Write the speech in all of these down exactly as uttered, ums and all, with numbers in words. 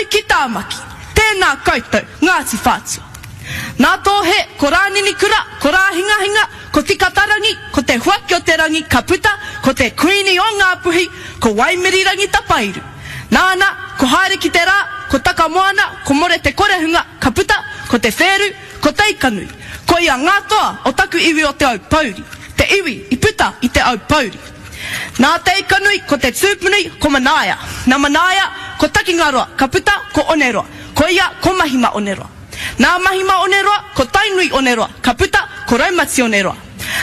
Whanganui ki Tāmaki. Tēnā koutou, Ngāti Whātua. Nā Tōhe, ko Rāninikura, ko Rāhingahinga, ko Tikatarangi, ko Te Huaki o te Rangi ka puta ko te Kuini o Ngāpuhi, ko Waimirirangi Tapairu. Nāna, ko Haere ki te Rā, ko Takamoana, ko More Te Korehunga ka puta ko Te Whēru, ko Teikanui. Koia ngā toa o taku iwi o Te Aupōuri, te iwi i puta i Te Aupōuri. Nā Teikanui ko te tūpunui ko Manaia. Nā Manaia ko Takingaroa ka puta ko Oneroa, koia ko Mahima Oneroa. Nā Mahima Oneroa ko Tainui Oneroa ka puta ko Raumati Oneroa.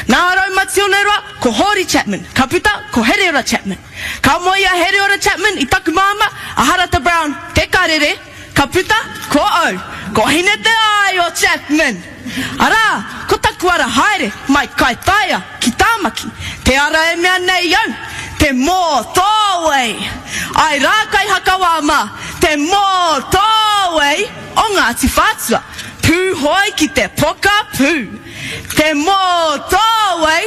Nā Raumati Oneroa ko Hōri Chapman ka puta ko Hereora Chapman. Ka moe a Hereora Chapman i taku māmā a Harata Brown Te Karere ka puta ko au, ko Hine Te Āio Chapman. Arā, ko taku ara haere mai Kaitaia ki Tāmaki, te ara e mea nei au, te mōtōwei! Āe rā Kaihakawā mā, te mōtōwei o Ngāti Whātua, pūhoi ki te pokapū! Te mōtōwei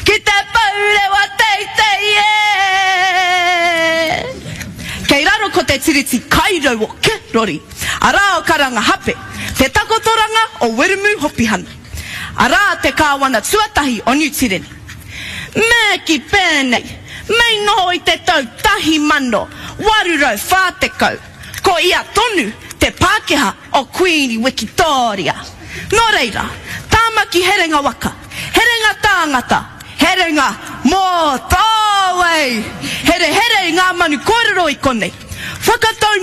ki te pourewa teitei e! Kei raro ko te tiriti kairau o Rori, arā o Karangahape, te takotoranga o Wiremu Hopihana, arā te kāwana tuatahi o Niu Tireni. Me ki pēnei, mei noho i te tau tahi mano, waru rau whā tekau, ko ia tonu te Pākehā o Kuini Wikitōria. Nō reira, Tāmaki herenga waka, herenga tāngata, herenga mōtōwei! Herehere i ngā manu kōrero i konei. Whakatau